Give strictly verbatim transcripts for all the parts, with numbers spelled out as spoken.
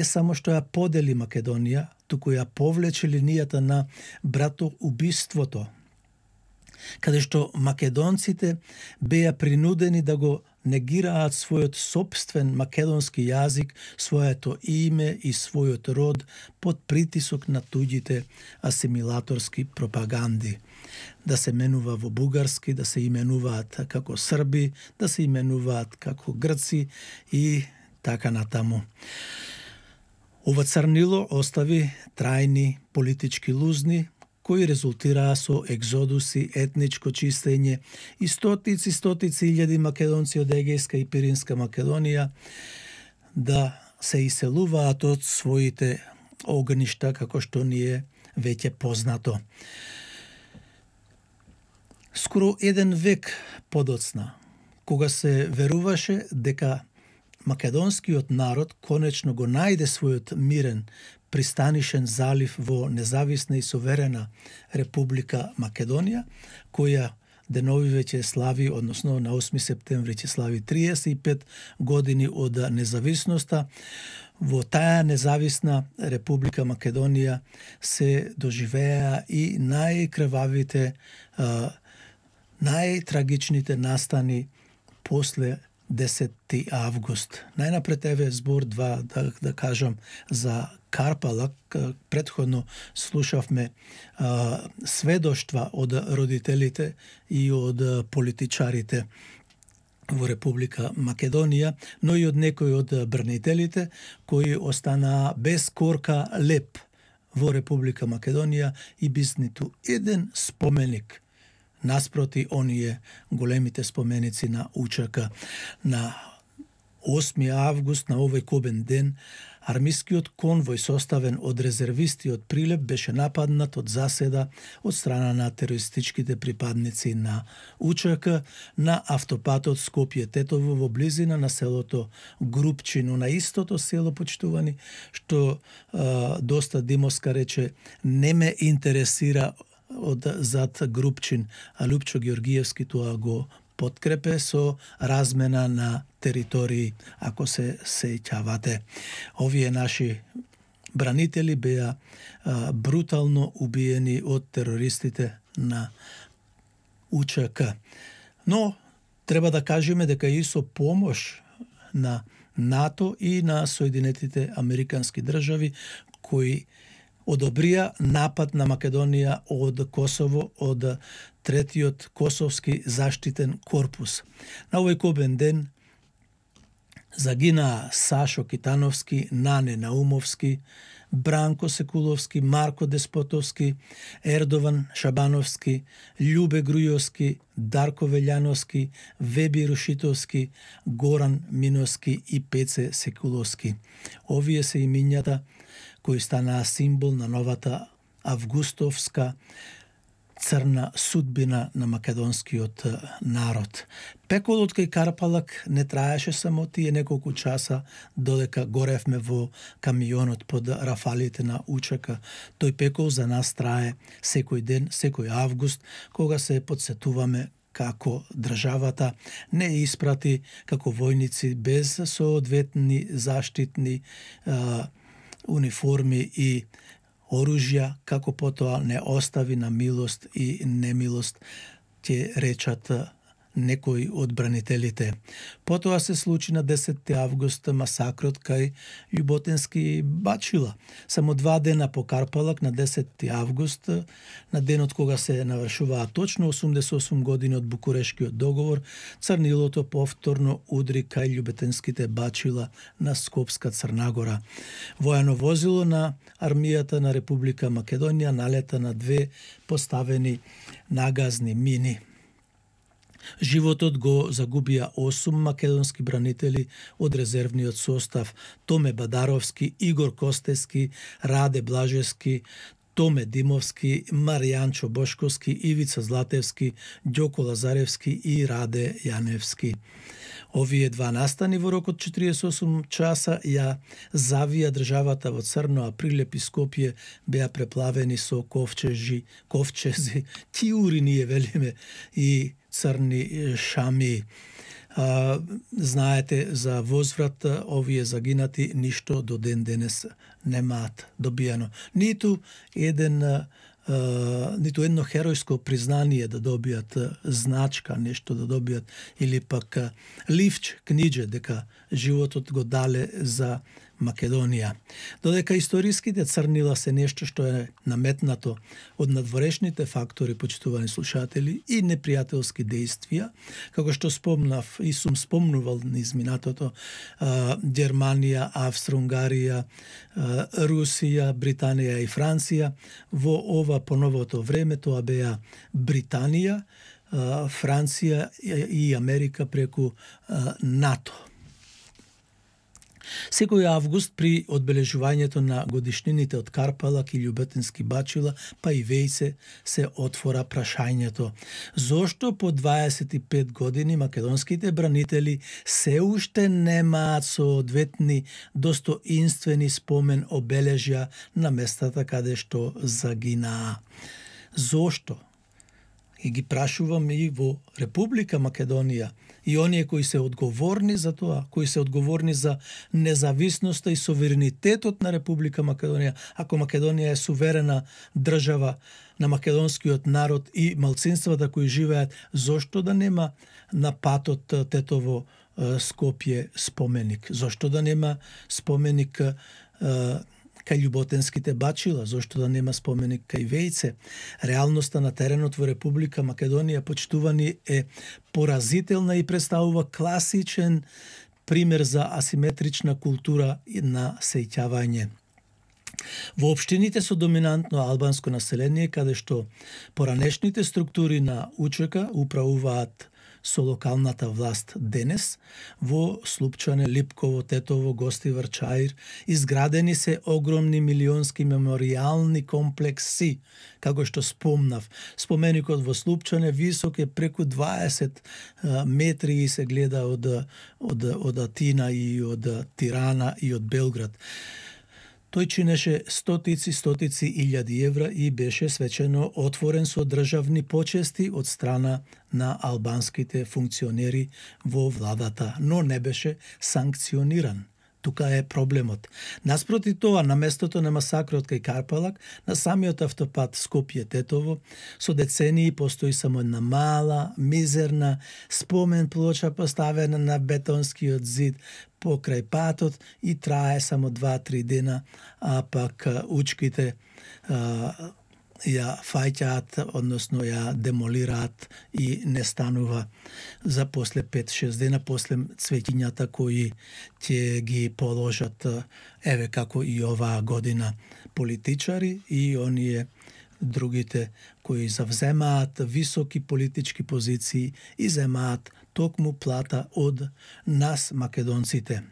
Не само што ја подели Македонија, туку ја повлече линијата на братоубиството, каде што македонците беа принудени да го негираат својот собствен македонски јазик, своето име и својот род под притисок на туѓите асимилаторски пропаганди. Да се менува во бугарски, да се именуваат како срби, да се именуваат како грци и така натаму. Ова црнило остави трајни политички лузни, кои резултираа со екзодуси, етничко чистење и стотици, стотици илјади македонци од Егејска и Пиринска Македонија да се иселуваат од своите огништа, како што ни е веќе познато. Скоро еден век подоцна, кога се веруваше дека македонскиот народ конечно го најде својот мирен пристанишен залив во независна и суверена Република Македонија, која денови веќе слави, односно на осми септември ќе слави триесет и пет години од независноста. Во таа независна Република Македонија се доживеа и најкрвавите, најтрагичните настани после десети август. Најнапред еве збор два да, да кажам за Карпалак. Претходно слушавме а, сведоштва од родителите и од политичарите во Република Македонија, но и од некои од бранителите кои останаа без корка леп во Република Македонија и без ниту еден споменик наспроти оние големите споменици на УЧК. На осми август, на овој кобен ден, армискиот конвој составен од резервисти од Прилеп беше нападнат од заседа од страна на терористичките припадници на УЧК на автопатот Скопје-Тетово во близина на селото Групчино, на истото село, почитувани, што а, доста Димовска рече не ме интересира од зад Групчин, а Лупчо Георгиевски тоа го подкрепе со размена на територии, ако се сеќавате. Овие наши бранители беа а, брутално убиени од терористите на УЧК. Но треба да кажеме дека и со помош на НАТО и на Соединетите Американски држави кои одобрија напад на Македонија од Косово, од третиот Косовски заштитен корпус. На овој кобен ден загинаа Сашо Китановски, Нане Наумовски, Бранко Секуловски, Марко Деспотовски, Ердован Шабановски, Љубе Грујовски, Дарко Велјановски, Веби Рушитовски, Горан Миноски и Пеце Секуловски. Овие се имињата кои станаа символ на новата августовска црна судбина на македонскиот народ. Пеколот кај Карпалак не траеше само тие неколку часа додека горевме во камионот под рафалите на УЧК. Тој пекол за нас трае секој ден, секој август, кога се подсетуваме како државата не испрати како војници без соодветни заштитни а, униформи и оружја, како потоа не остави на милост и немилост, ќе речат некои од бранителите. Потоа се случи на десети август масакрот кај Љуботински Бачила. Само два дена по Карпалак, на десети август, на денот кога се навршуваа точно осумдесет и осум години од Букурешкиот договор, црнилото повторно удри кај Љуботинските Бачила на Скопска Црнагора. Воено возило на армијата на Република Македонија налета на две поставени нагазни мини. Животот го загубија осум македонски бранители од резервниот состав: Томе Бадаровски, Игор Костески, Раде Блажевски, Томе Димовски, Маријанчо Бошковски, Ивица Златевски, Ѓоко Лазаревски и Раде Јаневски. Овие два настани во рок од четириесет и осум часа ја завија државата во црно, а Прилеп и Скопје беа преплавени со ковчежи, ковчези, тиури ние велиме, и црни шами. А, знаете за возврат, овие загинати ништо до ден денес немаат добијано. Ниту еден Uh, ниту едно херојско признание да добијат, uh, значка, нешто да добијат, или пак uh, ливч, книдже, дека животот го дале за Македонија. Додека историските црнила се нешто што е наметнато од надворешните фактори, почитувани слушатели, и непријателски дејствија, како што спомнав и сум спомнувал низ минатото, Германија, Австро-Унгарија, Русија, Британија и Франција, во ова поновото време тоа беа Британија, Франција и Америка преку НАТО. Секој август при одбележувањето на годишнините од Карпалак и Љубетински бачила, па и Вејце, се отвора прашањето: зошто по дваесет и пет години македонските бранители се уште немаат соодветни достоинствени спомен обележја на местата каде што загинаа? Зошто? И ги прашувам и во Република Македонија, и оние кои се одговорни за тоа, кои се одговорни за независноста и суверенитетот на Република Македонија, ако Македонија е суверена држава на македонскиот народ и малцинствата кои живеат, зошто да нема на патот Тетово Скопје споменик? Зошто да нема споменик кај Љуботенските бачила, зошто да нема споменик кај Вејце? Реалноста на теренот во Република Македонија, почитувани, е поразителна и представува класичен пример за асиметрична култура на сеќавање. Во општините со доминантно албанско население, каде што поранешните структури на УЧК управуваат со локалната власт денес, во Слупчане, Липково, Тетово, Гостивар, Чаир, изградени се огромни милионски мемориални комплекси, како што спомнав. Споменикот во Слупчане висок е преку дваесет метри и се гледа од, од, од Атина и од Тирана и од Белград. Тој чинеше стотици, стотици илјади евра и беше свечено отворен со државни почести од страна на албанските функционери во владата, но не беше санкциониран. Тука е проблемот. Наспроти тоа, на местото на масакрот кај Карпалак, на самиот автопат Скопје-Тетово, со децении постои само една мала, мизерна спомен плоча поставена на бетонскиот зид покрај патот и трае само два-три дена, а пак учките а, ја фаќаат, односно ја демолираат и не станува за после пет-шест дена, после цвеќињата кои ќе ги положат, еве како и оваа година, политичари и оние другите кои завземаат високи политички позиции и земаат токму плата од нас македонците.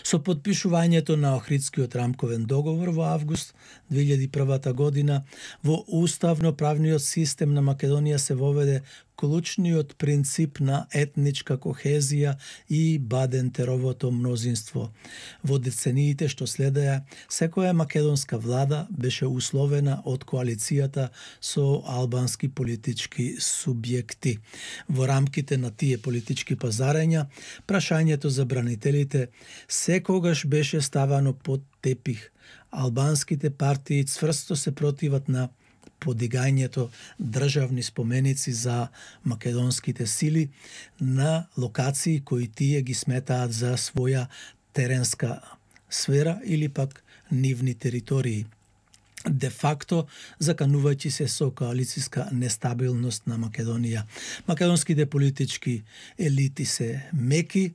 Со подпишувањето на Охридскиот рамковен договор во август две илјади и прва година, во уставно-правниот систем на Македонија се воведе клучниот принцип на етничка кохезија и бадентеровото мнозинство. Во децениите што следеа, секоја македонска влада беше условена од коалицијата со албански политички субјекти. Во рамките на тие политички пазарења, прашањето за бранителите секогаш беше ставано под тепих. Албанските партии цврсто се противат на подигањето државни споменици за македонските сили на локации кои тие ги сметаат за своја теренска сфера или пак нивни територии. Де факто, заканувајќи се со коалициска нестабилност на Македонија. Македонските политички елити се меки,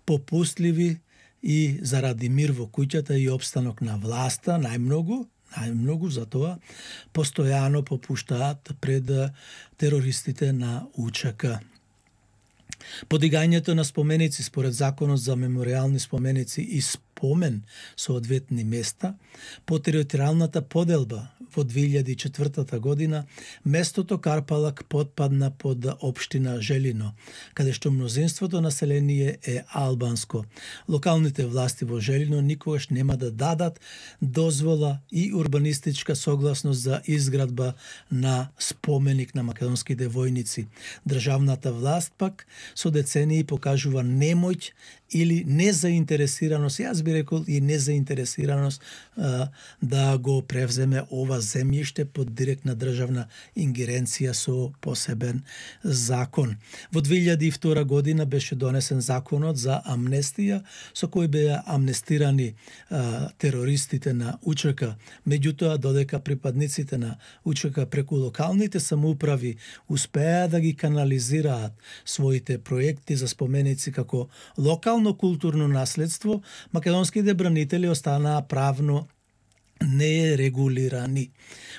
попустливи и заради мир во куќата и обстанок на власта, најмногу, најмногу за тоа, постојано попуштаат пред терористите на УЧК. Подигањето на споменици според законот за мемориални споменици и спомен со одветни места, по територијалната поделба во две илјади и четвртата година, местото Карпалак потпадна под општина Желино, каде што мнозинството население е албанско. Локалните власти во Желино никогаш нема да дадат дозвола и урбанистичка согласност за изградба на споменик на македонските војници. Државната власт пак со децении покажува немоќ или незаинтересираност, јас би рекол и незаинтересираност а, да го превземе ова земјиште под директна државна ингеренција со посебен закон. Во две илјади и втора година беше донесен законот за амнестија, со кој беа амнестирани а, терористите на УЧК. Меѓутоа, додека припадниците на УЧК преку локалните самоуправи успеа да ги канализираат своите проекти за споменици како локално културно наследство, македонските бранители останаа правно нерегулирани.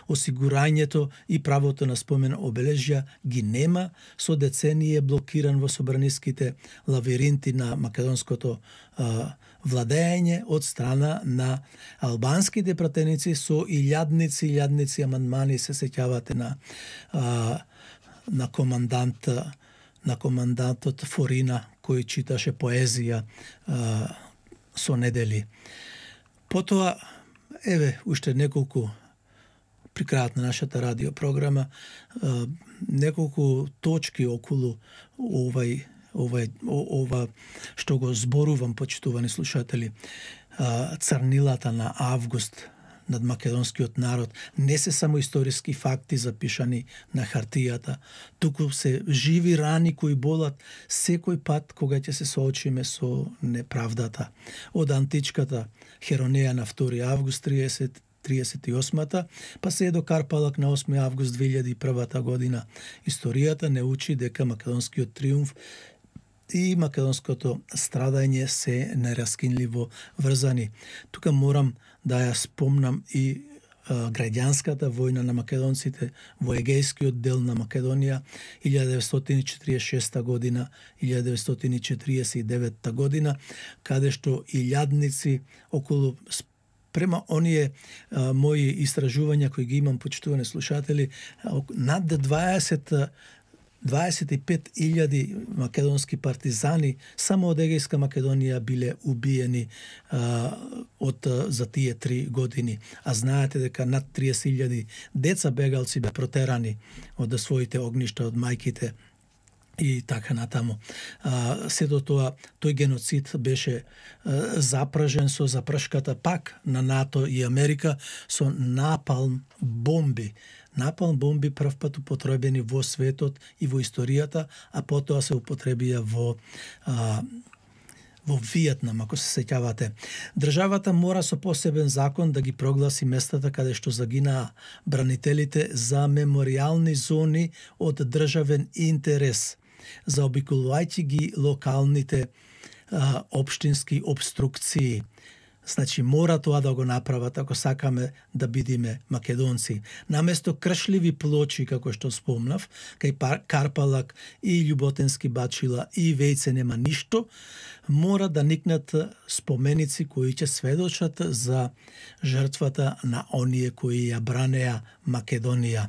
Осигурањето и правото на спомен обележја ги нема, со децении е блокиран во собраниските лавиринти на македонското а, владење од страна на албанските пратеници со илјадници, илјадници амандмани. Се сеќавате на а, на командант на командантот Форина, кој читаше поезија а, со недели. Потоа, еве, уште неколку, при крајот на нашата радиопрограма, а, неколку точки околу овај, овај, ова што го зборувам, почитувани слушатели, а, црнилата на август над македонскиот народ не се само историски факти запишани на хартијата, туку се живи рани кои болат секој пат кога ќе се соочиме со неправдата. Од античката Херонеја на втори август триесет и осмата, па се до Карпалак на осми август две илјади и првата година. Историјата не учи дека македонскиот триумф и македонското страдање се нераскинливо врзани. Тука морам да ја спомнам и а, граѓанската војна на македонците во егејскиот дел на Македонија илјада деветстотини четиридесет и шеста година, илјада деветстотини четиридесет и девета година, каде што илјадници околу према оние а, мои истражувања кои ги имам, почитувани слушатели, над дваесет дваесет и пет илјади македонски партизани само од Егејска Македонија биле убиени а, од за тие три години. А знаете дека над триесет илјади деца бегалци бе протерани од своите огништа, од мајките и така натаму. А, сето тоа, тој геноцид беше а, запражен со запршката пак на НАТО и Америка со напалм бомби. Напалм бомби прв пат употребени во светот и во историјата, а потоа се употребија во а, во Виетнам, ако се сеќавате. Државата мора со посебен закон да ги прогласи местата каде што загинаа бранителите за меморијални зони од државен интерес, заобиколувајќи ги локалните а, општински обструкции. Значи, мора тоа да го направат ако сакаме да бидеме македонци. Наместо кршливи плочи, како што спомнав, кај Карпалак и Љуботенски бачила и Вејце нема ништо, мора да никнат споменици кои ќе сведочат за жртвата на оние кои ја бранеа Македонија.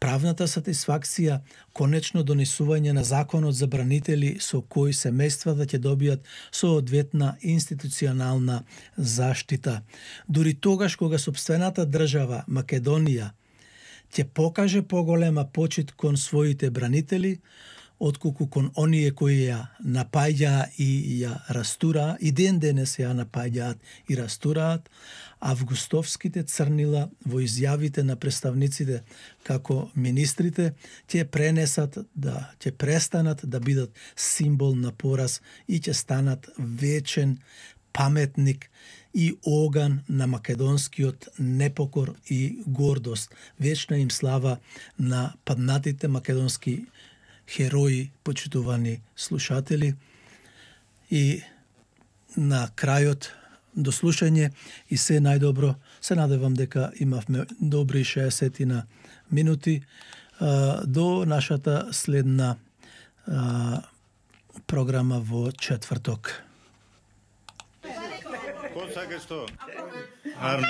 Правната сатисфакција, конечно донесување на законот за бранители со кој семејствата ќе добијат соодветна институционална заштита. Дури тогаш кога сопствената држава Македонија ќе покаже поголема почит кон своите бранители, отколку кон оние кои ја напаѓаа и ја растураа, и ден денес ја напаѓаат и растураат, августовските црнила во изјавите на представниците како министрите ќе пренесат да ќе престанат да бидат символ на пораз и ќе станат вечен паметник и оган на македонскиот непокор и гордост. Вечна им слава на паднатите македонски херои, почитувани слушатели. И на крајот до слушање и се најдобро. Се надевам дека имавме добри шеесет минути а, до нашата следна а, програма во четврток. Кој сака што? Арно.